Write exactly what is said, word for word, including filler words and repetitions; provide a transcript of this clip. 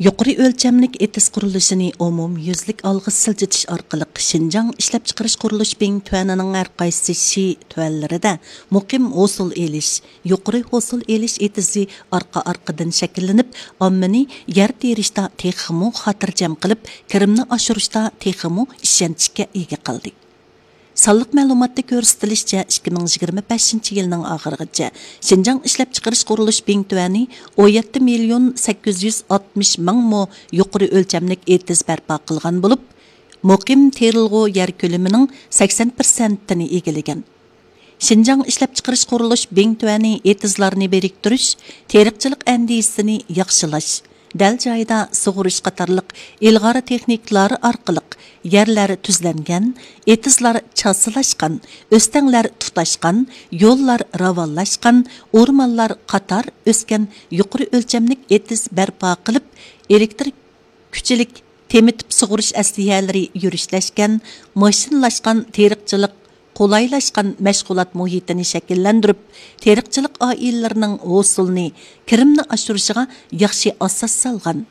يۇقىرى ئۆلچەملىك ئېتىز قۇرۇلۇشىنى ئومۇميۈزلۈك ئالغا سىلجىتىش ئارقىلىق، شىنجاڭ ئىشلەپچىقىرىش قۇرۇلۇش بىڭتۈەنىنىڭ ھەرقايسى شى تۈەنلىرىدە مۇقىم ھوسۇل ئېلىش، يۇقىرى ھوسۇل ئېلىش ئېتىزى ئارقا-ئارقىدىن شەكىللىنىپ، ئاممىنى يەر تېرىشتا تېخىمۇ خاتىرجەم قىلىپ، كىرىمنى ئاشۇرۇشتا تېخىمۇ ئىشەنچكە ئىگە قىلدى. سانلىق مەلۇماتتا كۆرسىتىلىشىچە، ئىككى مىڭ يىگىرمە بەشىنچى يىلنىڭ ئاخىرىغىچە شىنجاڭ ئىشلەپچىقىرىش قۇرۇلۇش بىڭتۈەنى ئون يەتتە مىليون سەككىز يۈز ئاتمىش مىڭ مو يۇقىرى ئۆلچەملىك ئېتىز بەرپا قىلغان بولۇپ، مۇقىم تېرىلغۇ يەر كۆلىمىنىڭ سەكسەن پىرسەنتىنى ئىگىلىگەن. شىنجاڭ ئىشلەپچىقىرىش قۇرۇلۇش بىڭتۈەنى ئېتىزلارنى بىرىكتۈرۈش، تېرىقچىلىق ئەندىزىسىنى ياخشىلاش، دەل جايىدا سۇغىرىش قاتارلىق ئىلغار تېخنىكىلار ئارقىلىق يەرلەر تۈزلەنگەن، ئېتىزلار چاسىلاشقان، ئۆستەڭلەر تۇتاشقان، يوللار راۋانلاشقان، ئورمانلار قاتار ئۆسكەن يۇقىرى ئۆلچەملىك ئېتىز بەرپا قىلىپ، ئېلېكتىر كۈچلۈك تېمىتىپ سۇغىرىش ئەسلىھەلىرى يۈرۈشلەشكەن، ماشىنىلاشقان تېرىقچىلىق، قولايلاشقان مەشغۇلات مۇھىتىنى شەكىللەندۈرۈپ، تېرىقچىلىق ئائىلىلىرىنىڭ ھوسۇلنى، كىرىمنى ئاشۇرۇشىغا ياخشى ئاساس سالغان.